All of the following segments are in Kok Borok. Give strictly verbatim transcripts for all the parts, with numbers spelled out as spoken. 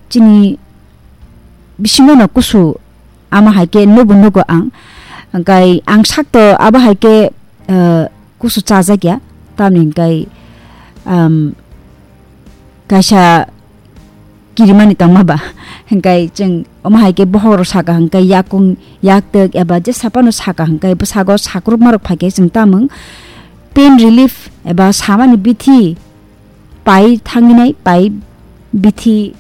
chini bisingo no kusu ama hai khe nugo nugo ang. Hingkai ang sakto abo hai khe, eh, kusu chajak ya. Tamni hingkai, um, kaisa kirimani tongma ba. Hingkai chwng omo hai khe bohok rok saka hingkai yakung yaktek eba jesa phano saka hingkai bwsago sakrupma rok phai khe chwng tamung pain relief eba samani bithi pai thangwi nai, pai bithi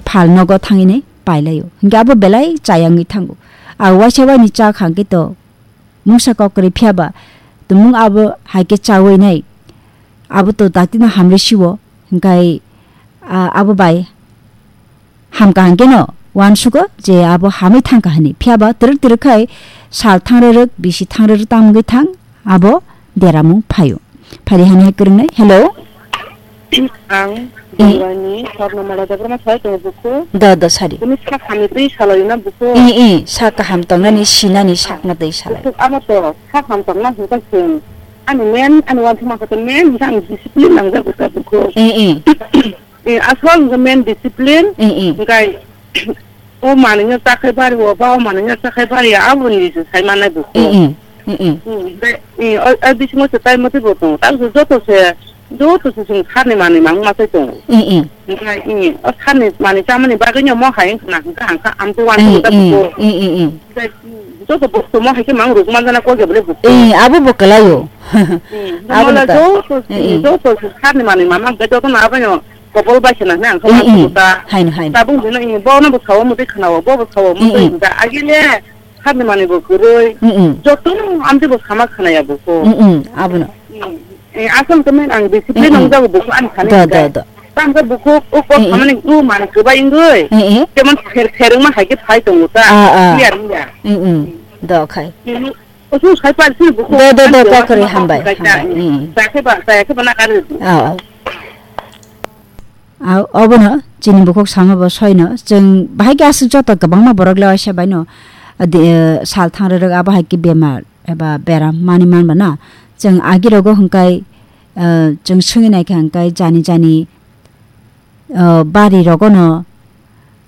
phal nogo thangwi nai pai laio. Hingke abo belai chayangwi thango. A waisa waini cha khang khe to mungsa kok kwrwi phiya ba tumung abo hai khe chawi nai. Abo to dakti no hamrwi siwo. Hingkai, a, abo bai ham kaham khe no uansugo je abo hamwi thang kha hwnwi. Phiya ba twrwk twrwk khai sal thang rwrwk, bisi thang rwrwk tang wngwi thang, abo deramung phaio. Phari hani hai kwrwngnai. Hello? Ang Eh. Bongani Swarna Mala Debbarma sai tongo buku. Da, da, sari. Kuni sak hamni twi salai na buku. Eh, eh, sak kaham tongnani sinani sakno twi salai. Buku amo to sak ham tongna hingka sing. Ani men, ani wan thuma kata men, hingka ang discipline nangjago ta buku. Eh, eh. Eh, aswk hingka men discipline. Eh, eh. Hingkai o manwino chakhai bari o, ba o manwino chakhai bari ya, aboni se sai manai buku. Eh, eh. Mm, mm. Mm, be, mm, o, o bisingo se tai motwi bo tongo. Tamo se joto se, joto se chwng sarni manwi mang ma sai tongo. Mm, mm. Omo, mm, o sarni manwi chamani bagwi no mo hai wngkha na hwnkha hwnkha, ang to uansukha Mm, mm, buko. Mm, mm, mm. Be, mm, joto bosto mo hai khe mang rwk manjana kok ya bole buko. Mm, abo bo kwlaio. Mm, Abo mola nokha. Joto, Mm, mm. Joto se sarni manwi ma mang khe joto no abo no kopol bai se na hwnwi ang khe Mm, mm. uansukha. Haino, haino. Tabuk hwnwi, mm, bo no bo sao motwi khwnao, bo bo sao Mm, motwi mm. hwnkha. Agile Sakni manwi bo kwrwi. Mm-mm. Jotono amtwi bo sama khwnaya bukhuk. Mm-mm, abono. Mm. Eh, asol khe men ang discipline Mm-mm. nangjago bukhuk ani thani Do, do, hwnkhe. Do. Tamo khe bukhuk o kok Mm-mm. samani o man kwbai wngwi. Mm-mm. Jemon pher pher wngma hai khe phai tongo ta. Ah, ah. Clear wngya. Mm-mm. Do khai. Mm. Oso sai pal sini bukhuk Do, do, do, ani kok kwrwi jora hambai, kaisa. Hambai. Mm. Chakhe ba, chayakhe ba na kari. Ah, ah. A, obono chini bukhuk sama bo soino. Chwng bahai khe aswk joto kwbangma borok le waisa baino, a, di, eh, sal thang rwrwk abo hai khe bemar eba beram mani manba na. Chwng agi rogo hwnkhe, eh, chwng swngwi naikha hwnkhe jani jani, eh, bari rogono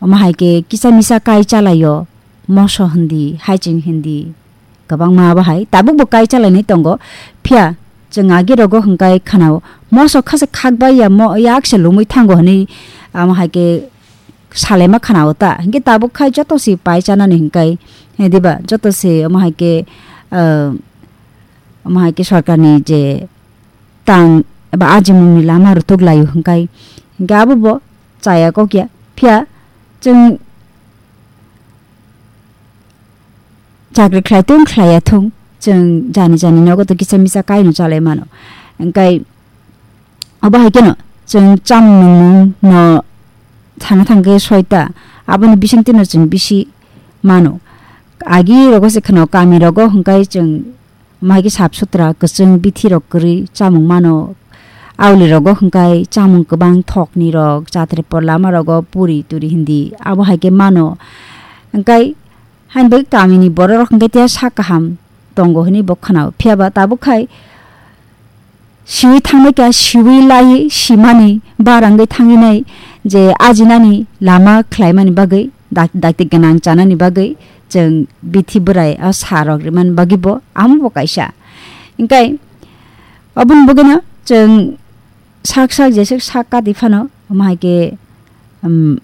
omo hai khe kisa misa kai chalaio. Moso hindi, haiching hindi, kwbangma abo hai tabukbo kai chalainai tongo. Phiya chwng agi rogo hwnkhe khwnao, moso khasa khakbai ya, mo yak se lumui thango hwnwi, amo hai khe salaima khwnao ta. Hinkhe tabuk khai joto se pai chanani hinkai, he diba, joto se omo hai khe, ah, omo hai khe sorkarni je tang eba ajimungni lama rwthwk laio hinkai. Hinkhe abo bo chaya kok ya. Phiya chwng chakri khlai thung, khlai ya thung, chwng jani jani nogo to kisa misa kaino chalai mano. Hinkhe abo hai kheno chwng chamung nungmung no thangna thangkhe soita, aboni bisingtwi no chwng bisi mano. Agi rogo se kheno kami rogo hwnkhe chwng Maikhe sap sutra kwchwng bithi rok kwrwi chamung mano. Auli rogo hwnkhe chamung kwbang thokni rok, chatri por lama rogo puri turi hindi abo hai khe mano. Hwnkhe hain bai kamini borok rok hwnkhe tei sak kaham tongo hwnwi bo khwnao. Phiya ba tabuk khai siwi thangbai kha, siwi lai simani barangwi thangwi nai je ajinani lama khlaimani bagwi. Dak-, dakti gwnang chanani bagwi chwng bithi bwrai o sa rok rimani bagwi bo amo bo kaisa. Hinkhe oboni bagwino chwng sak sak jeswk sak kati phano omo hai khe, um,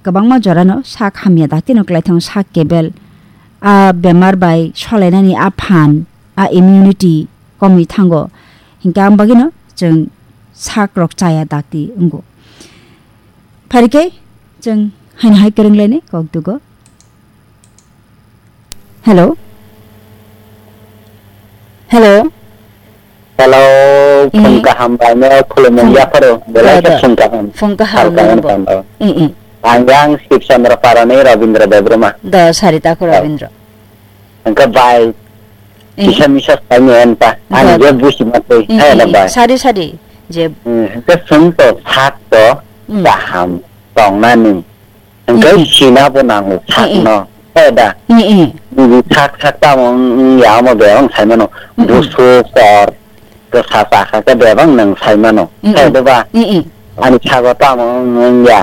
kwbangma jorano sak hamya dakti no kwlai thango, sak kebel a bemar bai solainani a phan a immunity komwi thango. Hinkhe ang bagwino chwng sak rok chaya dakti wngo. Pharikhe chwng haino hai kwrwnglaini kok dugo. Hello? Hello? Hello, Eh? phung kaham bai no khulumung Phung-, yapharo, belai do, khe do. Phung kaham. Phung kaham Sal kaham no bo. Tando. Eh, eh. Ang yang Sib Chandra Parani Rabindra Debbarma. Do, sari tako Oh. Rabindra. Hwnkhe bai, Eh. kisa misa saimani pa, ani Do, je do. busi matwi, Eh, hai eh, da eh. bai. Sari, sari. Je Hmm, hwnkhe chwng to sak to Mm. kaham tongnani. Hwnkhe Mm, mm. sina bo nango Mm, mm. sakno. He da? Mm, mm. Nini sak sak tamo wng ya omo bebak wng saimano. Mm, mm. Busu kor kwsa chakha khe bebak nwng saimano. Mm, He mm. da ba? Mm, mm. Ani sago tamo wng ya.